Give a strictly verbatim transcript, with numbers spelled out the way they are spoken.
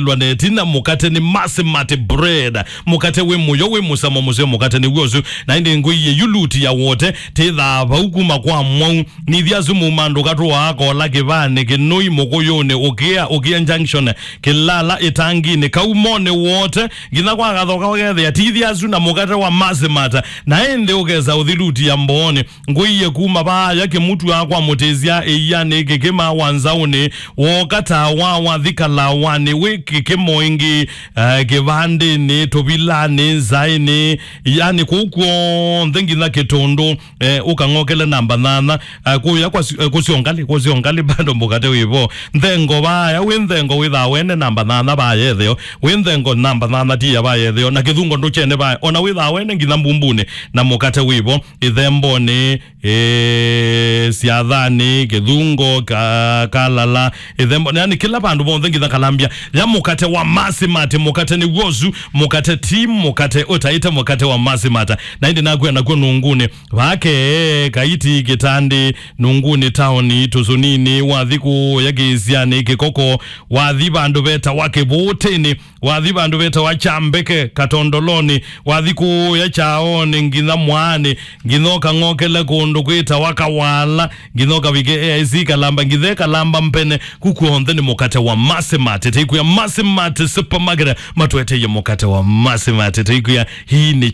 lwa na ĩtina, mũkate nĩ Masimati bread. Mũkate wĩ mũyo, wĩ mũsamo mũseo, mũkate nĩ w'o ũsu. Na ĩndĩ ngũiye yu luti ya wote, tĩthaa vau kuma kwa mwau. Nĩthya asu muma ndũka tũaa kola kĩvanĩ, kĩnũi mũkũyũnĩ, ũkĩa, ũkĩa junction, kĩlala ĩtanginĩ, kaumonĩ wote, nginya kwa kathoka ũkethĩa. Tithya asu na mũkate wa Masimati, na ĩndĩ ũkesa ũthi luti ya mboonĩ. Ngũiye kuma vaaya kĩmutu akwa mũtĩsya ĩianĩ kĩkĩma wa nzaũnĩ, wooka tawa wathi kalawanĩ wĩ kĩkĩmo ĩngĩ, eh, kĩvandĩnĩ, tũvilanĩ, nzaĩnĩ, yani kũu kw'onthe nginya kĩtũndũ, eh, ũkang'okele namba nana, eh, kũya kwa si- eh, kũsyo ngalĩ, kũsyo ngalĩ bado mũkate wĩvo. Nthengo vaaya, wĩ nthengo wĩthaa wene namba nana vaaya etheo, wĩ nthengo namba nana tiya vaaya etheo, na kĩthungo ndũkyene vaaya, ona wĩthaa wene nginya mbumbunĩ, na mũkate wĩvo, ĩthembonĩ, eh, syathanĩ, kĩthungo, ka, kalala, ĩthembo, yani kĩla vandũ vonthe nginya kalambya. Ya mũkate wa Masimati, mũkate nĩ w'o ũsu, mũkate ti mũkate ũtaĩte, mũkate wa Masimati. Na ĩndĩ nakwĩa nakw'o nungunĩ, vake, kaiti, kĩtandĩ, nungunĩ, taoni, tũsũninĩ, wathi kũya kĩĩsyanĩ, kĩkoko, wathi vandũ vetawa kĩvũtĩnĩ, wathi vandũ vetawa Kyambeke, Katondolonĩ, wathi kũya kyaonĩ, nginya mwaanĩ, nginya ũkang'okele kũndũ kwĩtawa Kawala, nginya ũkavike A I C Kalamba, nginya Kalamba Mpene, kũu kw'onthe nĩ mũkate wa Masimati. Tĩkwĩa Masimati Supermarket, matũeteie mũkate wa Masimati. Tĩkwĩa hii nĩ